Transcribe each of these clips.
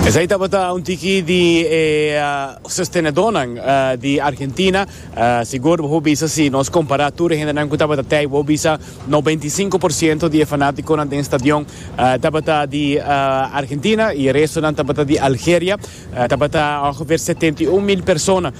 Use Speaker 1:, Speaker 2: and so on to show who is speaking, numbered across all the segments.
Speaker 1: Esei tabata un tiki di e sostenedónan di Argentina. Sigur bo por bisa si nos kompará tur e hendenan ku tabata tei, bo por bisa 95% di e fanátikonan den stadion tabata di Argentina i e restonan tabata di Algeria. Tabata ongeveer 71,000 persona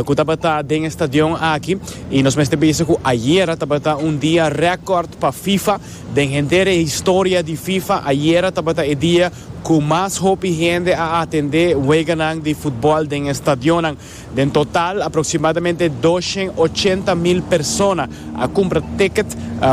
Speaker 1: ku tabata den e stadion aki i nos mester bisa ku ayera tabata un dia rèkòrt pa FIFA. Den henter e historia di FIFA ayera tabata e dia ku mas hopi hende a atendé weganan di futbòl den e stadionnan. Den total aproksimadamente 280,000 persona a kumpra ticket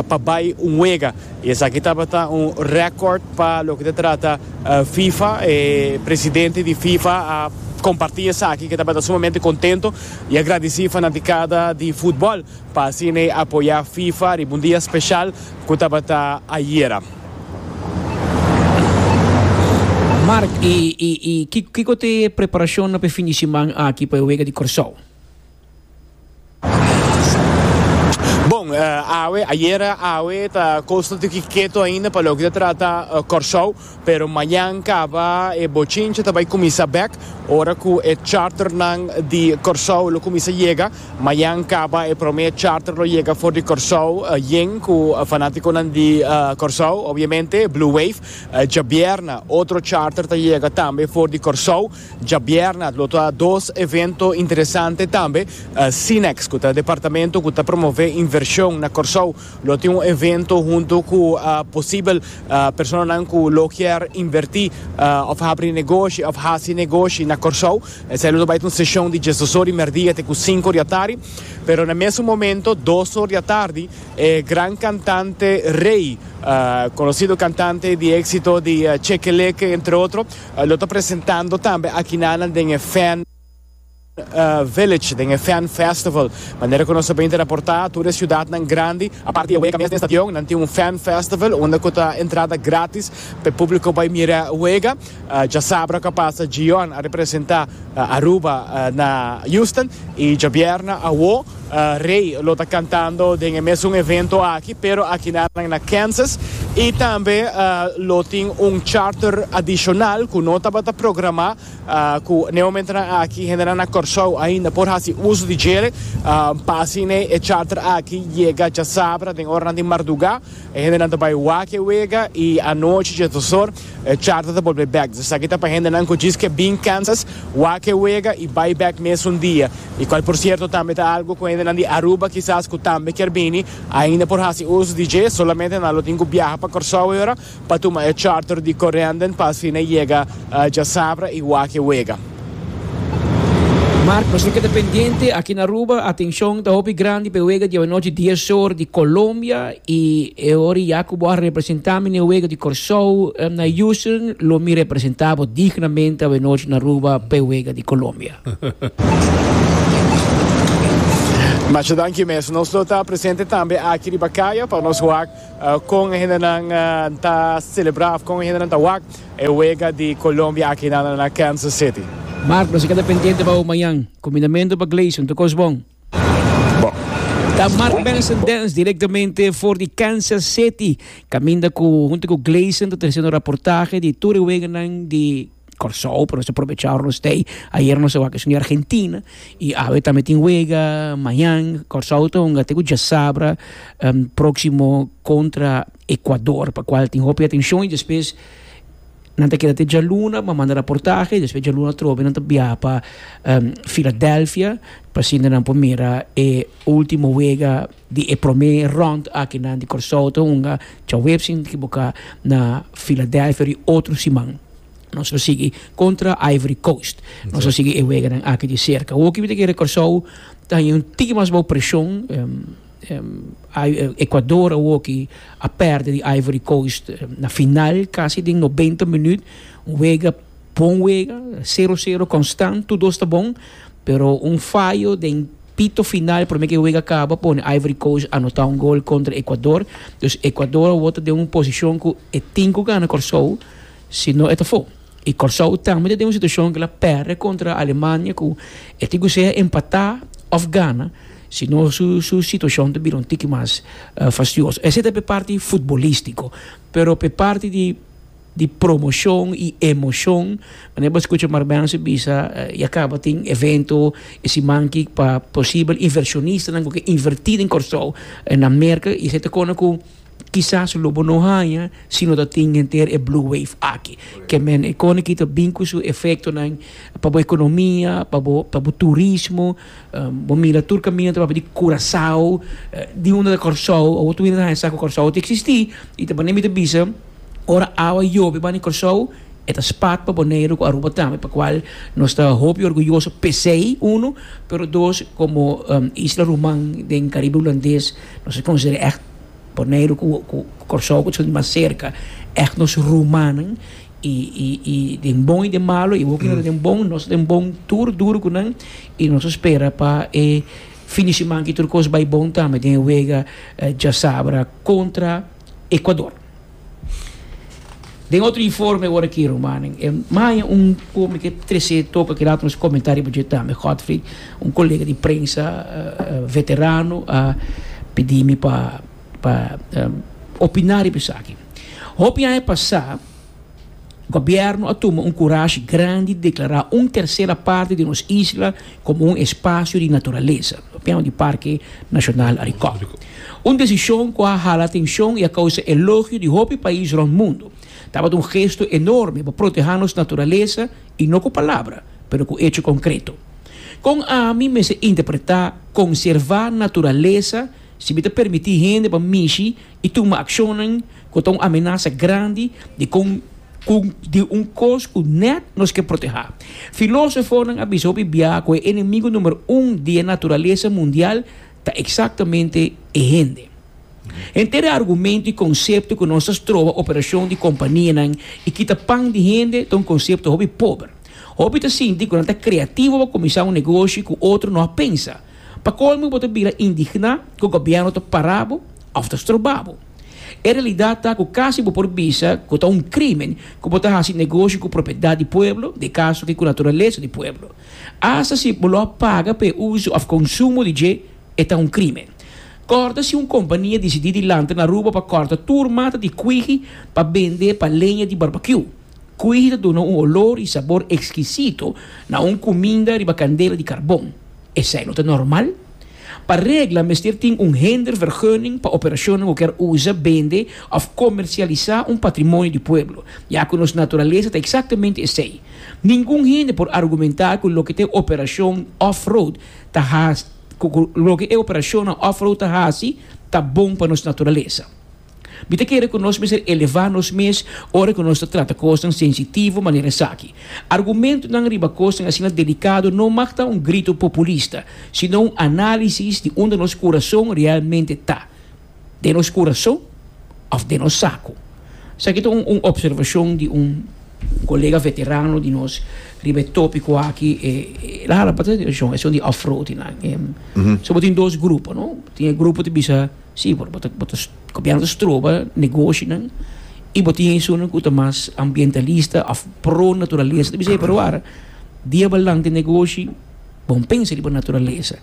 Speaker 1: pa bai un wega i esaki tabata un rèkòrt pa loke ta trata FIFA. E presidente di FIFA a kompartí esaki ku e tabata sumamente kontento i a gradisí fanatikada di futbòl pa asina e apoyá FIFA riba un dia speshal ku tabata ayera.
Speaker 2: Mark, i i i kiko ta e preparashonnan pa e fin di siman aki pa e wega di Kòrsou?
Speaker 1: Bon, awe, ayera awe ta kos ta tiki keto ainda pa loke ta trata Kòrsou, pero mañan kaba e bochincha ta bai kuminsá bèk ora ku e charternan di Kòrsou lo kuminsá yega. Mañan kaba e promé charter lo yega for di Kòrsou yen ku fanátikonan di Kòrsou, obviamente, Blue Wave. Djabièrna otro charter ta yega tambe for di Kòrsou. Djabièrna lo ta dos evento interesante tambe. Cinex, ku ta departamento ku ta promové invershon na Kòrsou, lo tin un evento huntu ku posibel personanan ku lo kier invertí òf habri negoshi òf hasi negoshi na Kòrsou. Esei lo ta bai ta un seshon di diesdos or di merdia te ku sinku or di atardi. Pero na mesun momento, dos or di atardi, e gran kantante Rey, konosido kantante di éksito di Chekeleke entre otro, lo ta presentando tambe akinanan den e Fan Village, den e Fan Festival. Manera ku nos ta bini ta raportá, tur e siudatnan grandi, aparte di e wega mes den stadion, nan tin un Fan Festival unda ku ta entrada gratis pa e públiko bai mira wega. Djasabra ku a pasa Gion a representá Aruba na Houston i djabièrnè awo Rey lo ta kantando den e mesun evento aki pero akinan na Kansas i tambe lo tin un charter adishonal ku no tabata programá ku n'e momentonan aki hendenan na Kòrsou ainda por hasi uso di djele pa asina e charter aki yega djasabra den oranan di mardugá. E hendenan ta bai wak e wega i anochi djesdosor E charter ta bolbe bek. Dus esaki ta pa hendenan ku djis ke bin Kansas, wak e wega i bai bek mesun dia. I kual por sierto tambe ta algu ku hendenan di Aruba kisas ku tambe kier bini ainda por hasi uso di dje, solamente nan lo tin ku biaha pa Kòrsou e ora pa tuma e charter di Corendon pa asina yega djasabra i wak e wega.
Speaker 2: Mark, nos lo keda pendiente aki na Aruba. Atencion ta hopi grandi pa e wega di awanochi dies or di Colombia y e ora ya cu bo a representa mi na e wega di Corsou na Houston, lo mi representa bo dignamente awanochi na Aruba pa e wega di Colombia.
Speaker 1: Masha danki mes. Nos lo ta presente tambe aki riba caya pa nos wak con e hendenan ta celebra of con e hendenan ta wak. E wega di Colombia aki na na Kansas City.
Speaker 2: Mark, nos a keda pendiente pa bo mañan. Kumindamentu pa Gleison, tur kos bon?
Speaker 1: Bon.
Speaker 2: Ta Mark Benson Dance directamente for di Kansas City, kaminda ku huntu ku Gleison ta tresiendo raportahe di tur e weganan di Kòrsou, pero nos a probecha ora nos ta ei. Ayer nos a wak esun di Argentina i awe tambe tin wega, mañan Kòrsou ta hunga te ku djasabra próksimo kontra Ecuador, pa cual tin hopi atencion y despues nan ta keda te djaluna pa manda raportahe y despues djaluna atrobe nan ta biaha pa Philadelphia pa asina nan por mira e ultimo wega di e prome rond aki nan di Corsou ta hunga djaweps sin ekiboca na Philadelphia di otro siman. Nos lo sigui contra Ivory Coast. Nos lo sigui e weganan aki di cerca. Hopi mi ta kere Corsou ta haña un tiki mas bou presion. Ecuador awoki a perde di Ivory Coast na final casi den 90 minuut. Un wega, bon wega, sero sero constant, tur dos ta bon, pero un fayo den pito final prome ke wega caba pone Ivory Coast anota un gol contra Ecuador. Dus Ecuador awo ta den un posicion cu e tin cu gana Corsou, si no e ta fo. I Kòrsou tambe ta den un situashon ku el a pèrdè kontra Alemania ku e tin ku sea empatá òf gana, si no su su situashon ta bira un tiki mas fastioso. Esei ta p'e parti futbolístiko, pero p'e parti di. di promoshon i emoshon. Manera bo a skucha Marbense bisa ya kaba tin evento e siman aki pa posibel invershonistanan ku ke invertí den Kòrsou na Merka i esei ta kona ku kisas lo bo no haña si no ta tin henter e blue wave aki. Ke men e kona aki ta bin ku su efektonan pa bo ekonomia, pa bo pa bo turismo. Bo mira tur kaminda ta papia di Curaçao, di unda ta Kòrsou, awor tur hende ta haña sa ku Kòrsou ta eksistí i ta manera mi ta bisa. Ora awa yobe banda di Kòrsou, e ta spat pa Boneiru ku Aruba tambe, pa kual nos ta hopi orguyoso p'esei, uno, pero dos, komo isla ruman den Karibe Hulandes, nos ta konsiderá ègt Boneiru ku Kòrsou ku ta mas serka, ègt nos rumannan i i i den bon i den malo, i hopi nan ta den bon, nos ta den bon tur duru ku nan i nos ta spera pa e fin di siman aki tur kos bai bon tambe den e wega djasabra kontra Ecuador. Den otro informe ora ki rumannan e maya un ku mi ke trese toka ki laat nos komenta riba dje tambe Godfried un kolega di prensa veterano a pidi mi pa pa opina riba esaki. Hopi aña pasa Gobierno a tuma un kurashi grandi di deklará un tersera parti di nos isla komo un espasio di naturalesa, papiando di Parke Nashonal Arikok. Un desishon ku a hala atenshon i a kousa elogio di hopi pais rònt mundu. Tabata un gesto enorme pa protehá nos naturalesa i no ku palabra, pero ku echo konkreto. Kon ami mester interpretá konservá naturalesa si mi ta permití hende pa mishi i tuma akshonnan ku ta un amenasa grandi di kon ku di un kos ku nèt nos ke protehá. Filósofonan a bisa hopi bia ku e enemigu number un di e naturalesa mundial ta eksaktamente e hende. Henter e argumento i konsepto ku nos ta stroba operashon di kompanianan i kita pan di hende ta un konsepto hopi pober. Hopi ta sinti ku nan ta kreativo pa kuminsá un negoshi ku otro no a pensa. Pa kolmo bo ta bira indigná ku gobièrnu ta para bo òf ta stroba bo. E realidat ta ku kasi bo por bisa ku ta un krímen ku bo ta hasi negoshi ku propiedat di pueblo, den kaso aki ku naturalesa di pueblo. Asta si bo lo a paga pa e uso òf konsumo di dje, e ta un krímen. Kòrda si un kompania disidí di lanta na Aruba pa kòrta tur mata di kuihi pa bende pa leña di barbakiú. Kuihi ta duna un olor i sabor ekskisito na un kuminda riba kandela di karbon. Esei no ta normal? Pa regla mester tin un hindervergunning pa operashonnan ku kier usa, bende òf komersialisá un patrimonio di pueblo, ya ku nos naturalesa ta eksaktamente esei. Ningun hende por argumentá ku loke ta e operashon off-road ta hasi ku loke e operashonnan off-road ta hasi ta bon pa nos naturalesa. Mi ta kere ku nos mester elevá nos mes ora ku nos ta trata kosnan sensitivo manera esaki. Argumentonan riba kosnan asina delikado no mag ta un grito populista, sino un análisis di unda nos kurason realmente ta, den nos kurason òf den nos saku. Esaki ta un opservashon di un kolega veterano di nos riba e tópiko aki. El a hala pa atenshon esun di off-roadingnan. So bo tin dos grupo, no? Tin e grupo ta bisa. Sí, bo ta bo ta gobièrnu ta stroba negoshinan i bo tin esunnan ku ta mas ambientalista òf pro naturalesa ta bisa ei pero wara dia bo lanta e negoshi bo no pensa riba naturalesa.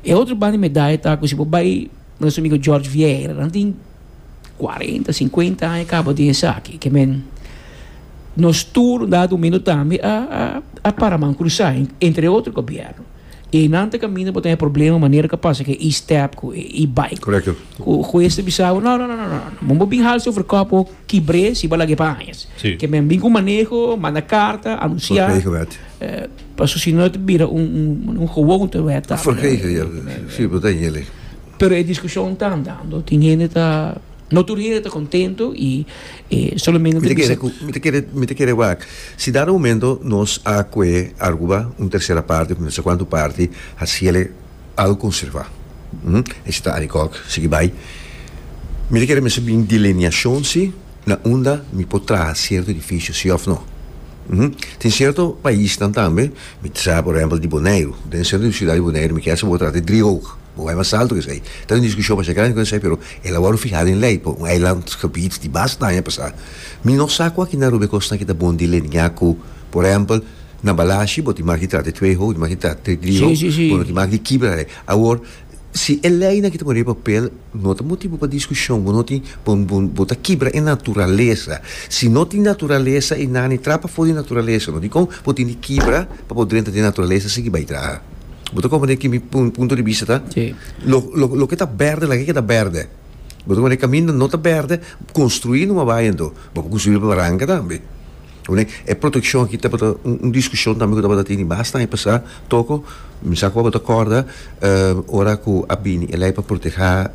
Speaker 2: E otro banda di medaya ta ku si bo bai nos amigo George Vieira nan tin kuarenta sinkuenta aña kaba den esaki ke men nos tur un dado momento tambe a a a para man krusá entre otro gobièrnu. I einan ta kaminda bo ta haña problema manera ku a pasa ku e e-step ku e e-bike.
Speaker 3: Korekto.
Speaker 2: Ku hues ta bisa bo no no no no no bo bo bin hals over kòp bo kibr'é si bo a lag'é pa añas.
Speaker 3: Si.
Speaker 2: Ke men bin ku maneho, manda karta, anunsiá.
Speaker 3: Vergegen wet.
Speaker 2: Paso si no e ta bira un un un gewoonte wet tambe.
Speaker 3: Vergegen ja, si bo ta yele.
Speaker 2: Pero e diskushon ta andando. Tin hende ta no tur hende ta kontento i e solamente
Speaker 3: Mi ta kere ku mi ta kere mi ta kere wak si dado momento nos a kue Aruba un tersera parti of no sa kuantu parti hasiele algo konserva esi ta Arikok sigui bai mi ta kere mester bin delineashon si na unda mi por traha sierto edifisio si of no tin sierto paisnan tambe mi ta sa por ehempel di Boneiru den sentro di siudat di Boneiru mi kier sa bo trata di driehoog. Bo bai mas alto ku esei. Ta un diskushon masha grandi ku esei, pero el a wòrdu fihá den lei pa un eilandgebied di basta aña pasá. Mi no sa ku aki na Aruba e kosnan aki ta bon delineá ku, por ehèmpel, na Balashi bo tin mag di trata e tweehoog, bo tin mag di trata e driehoog, bo no tin mag di kibra lei. Awor, Si e leinan ki ta pone riba papel no ta motibu pa diskushon, bo no tin, bo, bo, bo ta kibra e naturalesa. Si no tin naturalesa i nani traha pafó di naturalesa, no dikon bo tin di kibra pa bo drenta den naturalesa sigui bai traha? Bo ta komprende ki mi punto di bista ta?
Speaker 2: Sí.
Speaker 3: Lo, lo, loke ta bèrdè laga e keda bèrdè. Bo ta komprende? Kaminda no ta bèrdè, konstruí numa bai anto. Bo por konstruí riba baranka tambe. Pone e proteccion aki tabata un discusion tambe cu tabata tini basta aña pasa toko mi sa cu abo ta corda ora cu a bini e ley pa proteha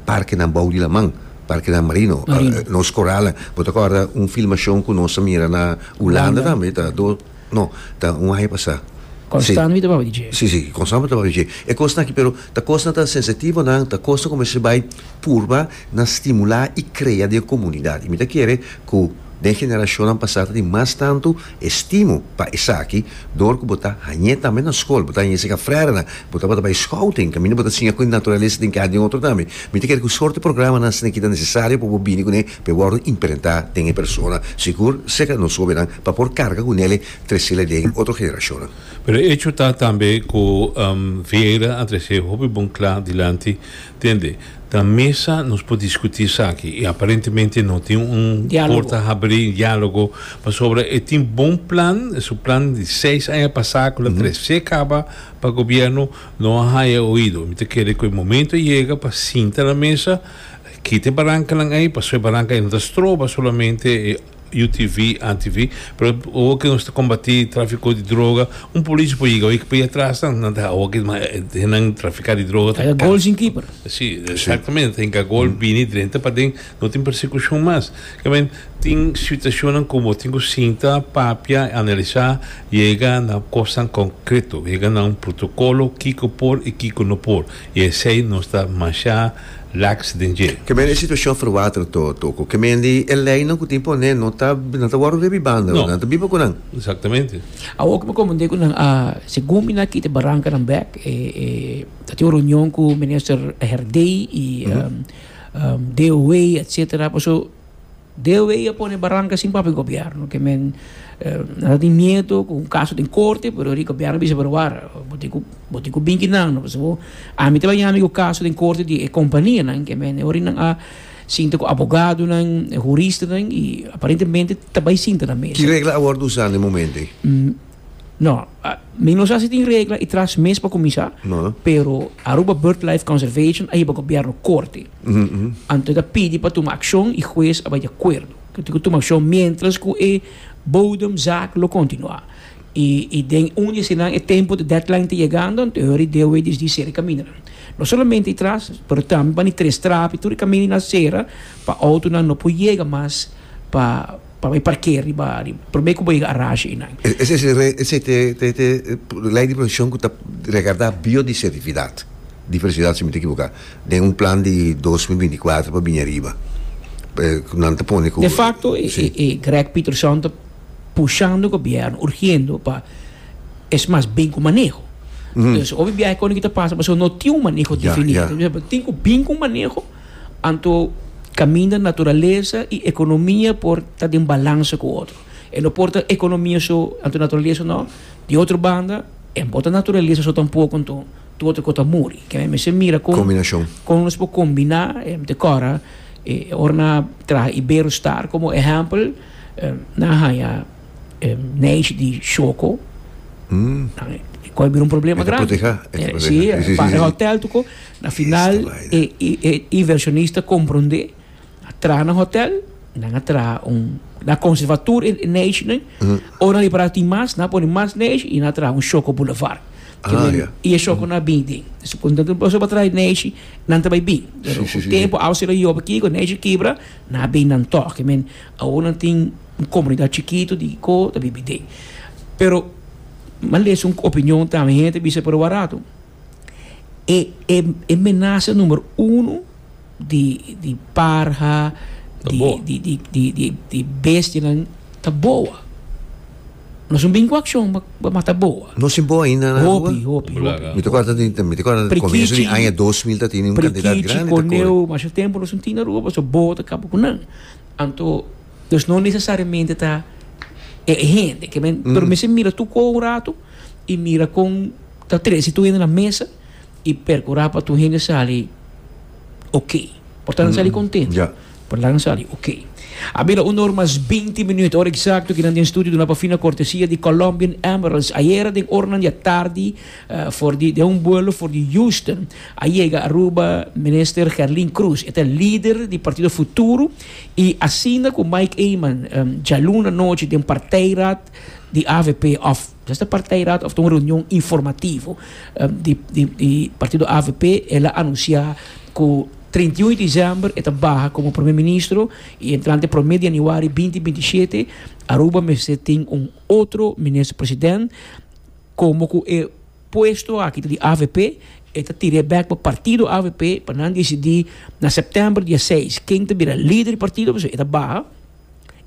Speaker 3: parkenan bou di laman, parkenan marino, nos coralnan. Bo ta corda un filmacion cu nos a mira na Hulanda tambe ta do no ta un aña pasa.
Speaker 2: Constant mi ta papia di dje.
Speaker 3: Si si constant mi ta papia di dje. E cosnan aki pero ta cosnan ta sensitivonan ta cosnan cu mester bay purba na stimula y crea den comunidad y mi ta kere cu Den generashonnan pasá ta tin mas tantu estimo pa esaki dor ku bo ta hañ'é tambe na skol, bo ta hañ'é serka frèrenan, bo tabata bai scouting, kaminda bo ta siña ku e naturalesa tin keda den otro tambe. Mi ta kere ku sorto programanan asina ki ta nesesario pa bo bini kuné pa e wòrdu imprentá den e persona, sigur serka nos hóbennan pa por karga kunele tresele den otro generashonnan.
Speaker 4: Pero e echo ta tambe ku Vieira a trese hopi bon kla dilanti. Tende, ta mesa nos por discuti esaki y aparentemente no tin un porta habri, dialogo, pasobra e tin bon plan, su plan di seis aña pasa cu la trece caba pa gobierno no a haya oido. Mi ta kere cu e momento a yega pa sinta na mesa, kita e barancanan ey, pasobra e baranca ey no ta stroba solamente e UTV, ATV, pero awor ke nos ta kombati trafiko di droga, un polis por yega awor por atras nan, nan ta awor ke nan trafika di droga
Speaker 2: ta gol sin keeper.
Speaker 4: Si, exactamente, ta hinka gol bini drenta paden, no tin persekushon mas. Ke men tin situashonnan ku bo tin ku sinta, papia, analisa, yega na kosnan konkreto, yega na un protokolo kiko por i kiko no por. I esei nos ta masha Laks den dje.
Speaker 3: Ke men e situashon verwater to toko. Ke men di e leinan ku tin pone no ta nan ta wòrdu den bibanda,
Speaker 4: No.
Speaker 3: nan ta biba ku nan.
Speaker 4: Exactamente.
Speaker 2: Awor ku mi komprendé ku nan a segun mi nan a kita e barankanan bèk e e ta tin un reunion ku minister Herdé i DOW etcetera paso DOW a pone baranka sin papia gobierno ke men nan ta tin miedo ku un kaso den korte pero di gobierno bisa pero wara bo tin ku bo tin ku bin kinan no pasobra ami ta baña mi ku kaso den korte di e kompanianan ke men e ora nan a sinta ku abogadonan huristanan i aparentemente ta bai sinta na mesa.
Speaker 3: Ki regla a wòrdu usá na e momento ei?
Speaker 2: No, mi no sa si tin regla i tras mes pa kuminsá, pero Aruba Birdlife Conservation a hiba gobierno korte. Anto e ta pidi pa tuma akshon i hues a bai di akuerdo ku tin ku tuma akshon miéntras ku e bodemzaak lo kontinuá. I i den un di eseinan e tempu di deadline ta yegando, anto e hori DOW disdi sera e kamindanan. No solamente i tras, pero tambe pa ni tres trapi tur e kaminda nan sera pa outonan no por yega mas pa Pa bai parkeer riba prome ku bo yega arashi einan.
Speaker 3: Esei te te te lei di protekshon ku ta regardá biodisertifidat, diversidat si mi ta ekiboká, den un plan di 2024 pa bini ariba. Ku nan ta pone ku.
Speaker 2: De fakto e Greg Peterson ta pushando gobièrnu, urgiendo pa es mas bin ku maneho. Dus hopi biahe kon ki ta pasa pasobra no tin un maneho definí. Tin ku bin ku un maneho. Anto caminda naturalesa y economia por ta den balansa cu otro. E no por ta economia so anto naturalesa no. Di otro banda e no por ta naturalesa so tampoco anto tur otro cos ta muri. Ke mester mira con
Speaker 3: Combinacion.
Speaker 2: con nos por combina e te cora e ora nan traha Iberostar como ehempel nan a haya neishi di Shoko. Cu a bira un problema
Speaker 3: E ta
Speaker 2: grandi.
Speaker 3: proteha, e ta proteha.
Speaker 2: Si,
Speaker 3: Si, si,
Speaker 2: pa
Speaker 3: si,
Speaker 2: e
Speaker 3: si.
Speaker 2: hotel tuko. Na final e e inversionista komprondé, a traha nan hotel, nan a traha un, nan a konservá tur e neishinan, ora nan ripará tin mas, nan a pone mas neishi i nan a traha un Shoko Boulevard. Ke men, i e shokonan a bin den. Pasobra pa traha e neishi, nan ta bai bin. Pero ku tempu awa sera yobe kiko, neishi kibra, nan a bin nan tòg. Ke men, awor nan tin un komunidat chikitu di ko ta bibi den. Pero, mi a lesa un opinion tambe, hende ta bisa pero warato. E e e menasa numero uno di di parha,
Speaker 4: Ta
Speaker 2: di
Speaker 4: boa.
Speaker 2: di di di di di bestianan ta boa. Nos no bin ku akshon pa pa mata boa.
Speaker 3: No sin boa ainda na Aruba?
Speaker 2: Hopi, hopi, hopi.
Speaker 3: Mi ta kòrda di mi ta kòrda di komienso di aña 2000 ta tene un kantidat
Speaker 2: Prikichi,
Speaker 3: grandi ta kore.
Speaker 2: koneu, masha tempu nos no tin na Aruba pasobra boa ta kaba ku nan. Anto, dus no nesesariamente ta e hende. Ke men, pero mester mira tur kos un ratu i mira kon. Ta trese tur hende na mesa. y percura pa tur hende sali ok. Por ta nan sali contento. Por ta nan sali ok. A bira un or mas binti minuut, ora exacto ki nan den studio duna pa fina cortesia di Colombian Emeralds. Ayera den oranan di atardi for di den un buelo for di Houston a yega Aruba Minister Gerlin Croes. E ta lider di Partido Futuro y asina cu Mike Eman djaluna nochi den partijraad di avp of ta partijraad of ta un reunion informativo di di partido avp el a anuncia cu 31 di december e ta baha como prome ministro y entrante prome di januari binti binti shete Aruba mester tin un otro minister president como cu e puesto aki ta di avp e ta tira e bek pa partido avp pa nan dicidi na september dia seis ken ta bira lider di partido pasobra e ta baha.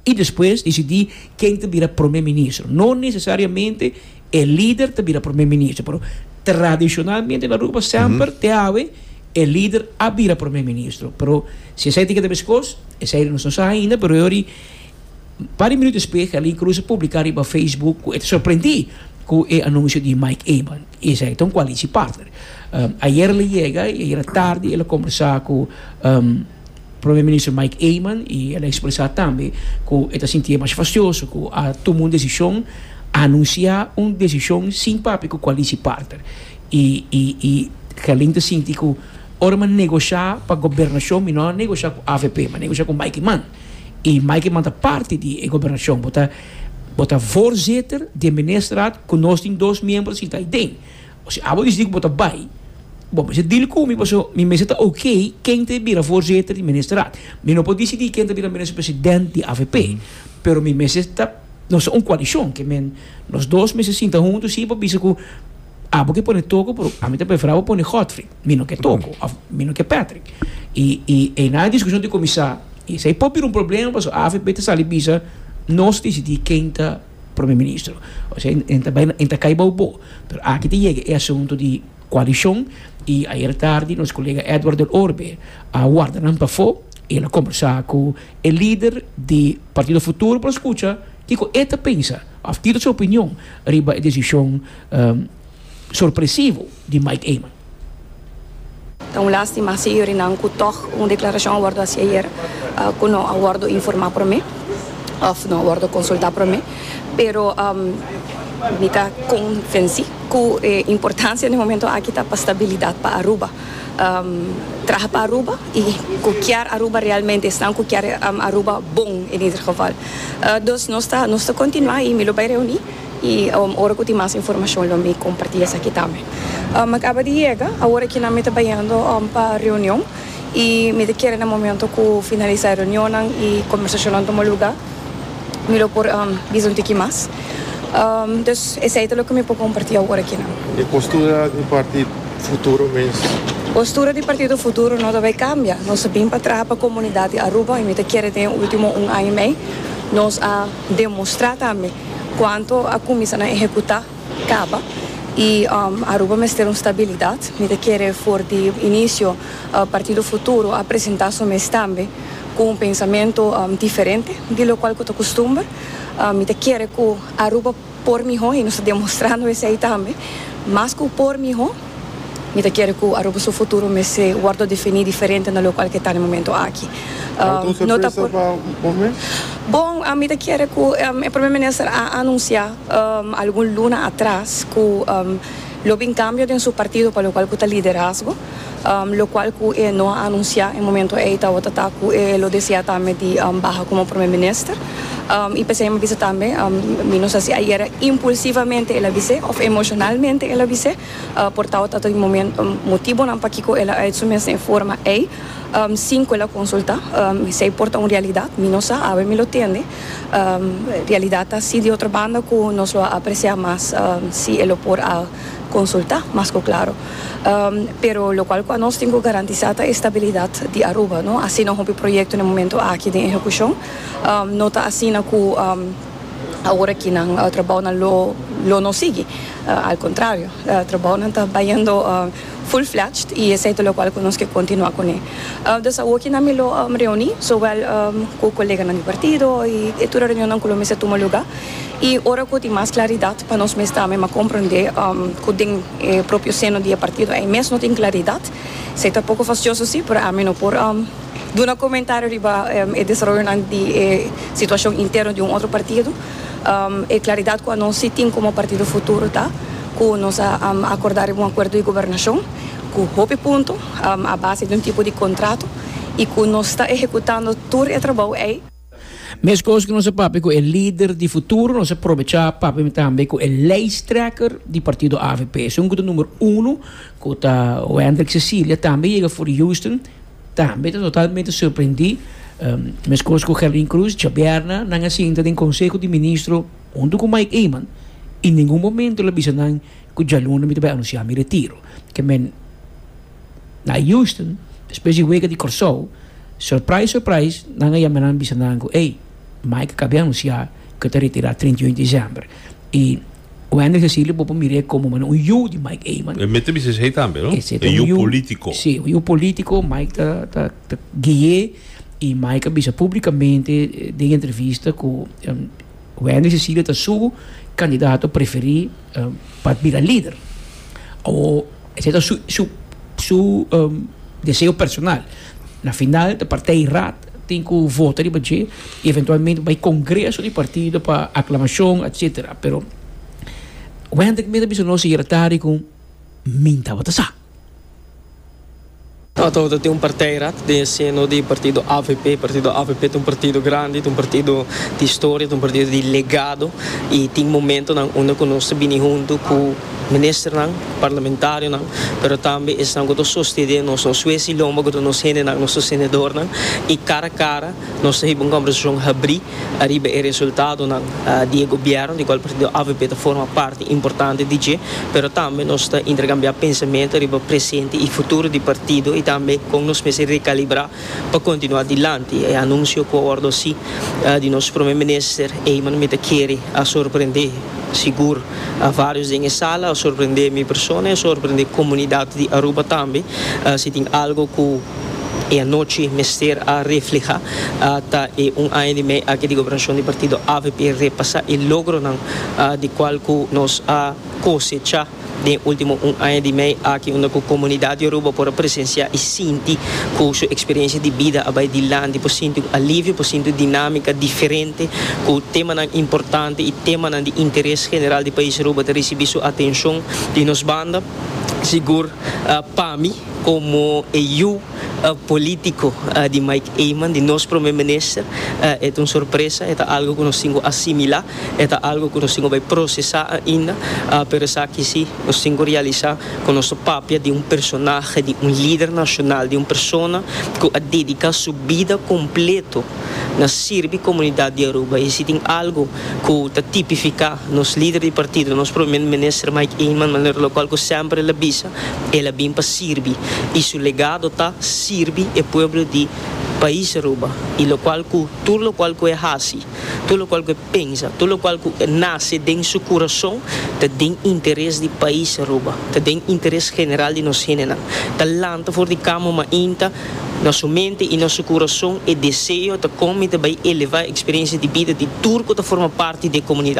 Speaker 2: y despues dicidi ken ta bira prome ministro. No necesariamente e lider ta bira prome ministro, pero tradicionalmente na Aruba semper te awe e lider a bira prome ministro. Pero si esey tin ke ta meskos, esey nos no sa ainda, pero yori par di minuut despues Gerlin Cruz a publica riba Facebook cu e ta sorprendi cu e anuncio di Mike Eman. Y esey ta un coalitie partner. Ayer el a yega y ayer tardi el a conversa cu. Prome Minister Mike Eman y el a expresa tambe cu e ta sintié masha fastioso cu a tuma un decision, anuncia un decision sin papia cu coalitie partner. Y y y Gerlin ta sinti cu ora mi a negosha pa gobernacion mi no a negosha cu avp, mi a negosha cu Mike Eman. Y Mike Eman ta parti di e gobernacion. Bo ta bo ta voorzitter di e ministerraad cu nos tin dos miembro sinta aiden. Osea, abo disidi ku bo ta bai, bo mester deal ku mi pasobra mi mester ta ok ken ta bira voorzitter di ministerraad. Mi no por disidi ken ta bira minister president di avp, pero mi mester ta, nos ta un koalishon, ke men nos dos mester sinta huntu si pa bisa ku abo ke pone Toko pero ami ta prefera abo pone Godfrey, mi no ke Toko of mi no ke Patrick. I i einan e diskushon tin kuminsá i esei por bira un problema pasobra avp ta sali bisa nos disidi ken ta. Prome Ministro. Osea en ta bai en ta kai bou bo. Pero aki ta yega e asunto di koalishon i ayer tardi nos kolega Edward del Orbe a warda nan pafó i el a kombersá ku e lider di Partido Futuro pa skucha kiko e ta pensa òf kiko ta su opinion riba e desishon sorpresivo di Mike Eman.
Speaker 5: Ta un lástima si yorinan ku tòg un deklarashon a wòrdu hasi ayer ku no a wòrdu informá promé òf no a wòrdu konsultá promé. Pero mi ta konvensí ku e importansia den e momento aki ta pa stabilidat pa Aruba. Traha pa Aruba i ku kier Aruba realmente, esnan ku kier Aruba bon en ieder geval. Dus nos ta nos ta kontinuá i mi lo bai reuní. I ora ku tin mas informashon lo mi kompartí esaki tambe. Mi a kaba di yega, awor akinan mi ta bayendo pa reunion i mi ta kere na momento ku finalisá e reunionnan i kombersashonnan tuma lugá mi lo por bisa un tiki mas. Dus esei ta loke mi por kompartí awor akinan.
Speaker 6: E postura di parti Futuro mes?
Speaker 5: Postura di Partido Futuro no ta bai kambia. Nos a bin pa traha pa komunidat di Aruba i mi ta kere den e ultimo un aña i mei nos a demostrá tambe. Cuanto a cuminsa na ehecuta caba y Aruba mester un stabilidad. Mi ta kere for di inicio Partido Futuro a presenta su mes tambe cu un pensamento diferente di locual cu ta custumber. Mi ta kere cu Aruba por miho y nos ta demostrando esey tambe. Mas cu por miho. Mi ta kere ku Aruba su futuro mester wòrdu definí diferente na lokual ke ta na e momento aki.
Speaker 6: Tawata un sorpresa pa bo mes?
Speaker 5: Bon, mi ta kere ku e Prome Minister a anunsiá algun luna atras ku lo bin kambio den su partido pa lokual ku ta liderazgo. Lokual ku e no a anunsiá e momento ei tawata ta ku e lo deseá tambe di baha komo Prome Minister. I p'esei mi a bisa tambe, mi no sa si ayera impulsivamente el a bis'é òf emoshonalmente el a bis'é. Por tabata ta di motibonan pakiko el a uit su mes den e forma ei sin ku el a konsultá. Esei por ta un realidat, mi no sa, awe mi lo tende. Realidat ta si di otro banda ku nos lo a apresiá mas si e lo por a konsultá, mas ku klaro. Pero lokual ku anos tin ku garantisá ta e stabilidat di Aruba, no? Asina hopi proyekto na e momento aki den ehekushon. No ta asina ku. Awor aki nan trabounan lo lo no sigui. Al kontrario, trabounan ta bayendo full fledged i esei ta lokual ku nos ke kontinuá kuné. Dus awor ki nan mi lo reuní zowel ku koleganan di partido i e tur e reunionnan ku lo mester tuma lugá i ora ku tin mas klaridat pa nos mes tambe mas komprondé ku den e propio seno di e partido ei mes no tin klaridat. Esei ta poko fastioso si, pero ami no por duna komentario riba e desaroyonan di e situashon interno di un otro partido. E klaridat ku anos si tin komo Partido Futuro ta ku nos a akordá riba un akuerdo di gobernashon ku hopi punto a base di un tipo di kontrato i ku nos ta ehekutando tur e trabou ei.
Speaker 2: Meskos ku nos a papia ku e lider di Futuro, nos a probechá papia tambe ku e lijsttrekker di partido avp. Esun ku ta number uno, ku ta Wendrick Cecilia, tambe yega for di Houston, tambe ta totalmente sorprendí. Meskos ku Gerlin Cruz, djabièrnè nan a sinta den Konseho di Ministro huntu ku Mike Eman i ningun momento el a bisa nan ku djaluna mi ta bai anunsiá mi retiro. Ke men. Na Houston, despues di wega di Kòrsou, surprise surprise, nan a yama nan bisa nan ku ey, Mike a kabia anunsiá ku e ta retirá 31 di desèmber. I Wendrick Cecilio bo por mir'é komo manera un yu di Mike Eman.
Speaker 4: E mester bisa esei tambe, no?
Speaker 2: Esei ta un
Speaker 4: yu polítiko.
Speaker 2: Sí, un yu polítiko. Mike ta ta ta gui'é i Mike a bisa públikamente den entrevista ku Wendrick Cecilio ta su kandidato preferí pa bira lider. Awor. Esei ta su su su deseo personal. Na final ta partijraad tin ku vota riba dje i eventualmente bai kongreso di partido pa aklamashon etsetera. Pero Wendrick mes a bisa nos ayer tardi ku min tabata sa.
Speaker 7: Tabata tin un partijraad den e seno di partido avp. Partido avp ta un partido grandi, ta un partido di historia, ta un partido di legado y tin momentonan unda cu nos ta bini hunto cu ministernan, parlamentarionan, pero tambe esnan cu ta sostene nos, nos hues y lomba cu ta nos hendenan, nos sostenedornan y cara cara nos ta hiba un conversacion habri ariba e resultadonan di e gobierno di cual partido avp ta forma parti importante di dje, pero tambe nos ta intercambia pensamento riba presente y futuro di partido y tambe con nos mester recalibra pa continua dilanti. E anuncio cu a wordo haci di nos Prome Minister Eman mi ta kere a sorprende sigur a varios den e sala, a sorprende mi persona y a sorprende comunidad di Aruba tambe. Si tin algo cu E anochi mester a refleha ta e un aña di mei aki di gobernacion di partido avp repasa e logronan di cual cu nos a cosecha den e ultimo un aña di mei aki unda cu comunidad di Aruba por a presencia y sinti cu su experiencia di bida a bay dilanti, por sinti un alivio, por sinti un dinamica diferente cu temanan importante y temanan di interes general di pais Aruba ta ricibi su atencion di nos banda. Sigur pa mi. Como e yu politico di Mike Eman, di nos Prome Minister, e ta un sorpresa, e ta algo cu nos tin cu asimila, e ta algo cu nos tin cu bay procesa ainda, pero esaki si nos tin cu realisa cu nos ta papia di un personahe, di un lider nacional, di un persona cu a dedica su bida completo na sirbi comunidad di Aruba. Y si tin algo cu ta tipifica nos lider di partido, nos Prome Minister Mike Eman, manera locual cu semper el a bisa, El a bin pa sirbi y su legado ta sirbi e pueblo di pais Aruba y locual cu tur locual cu e haci, tur locual cu e pensa, tur locual cu nace den su curason ta den interes di pais Aruba, ta den interes general di nos hendenan. Ta lanta for di cama mainta na su mente y na su curason e deseo ta con mi ta bay eleva e experiencia di bida di tur cu ta forma parti di e comunidad.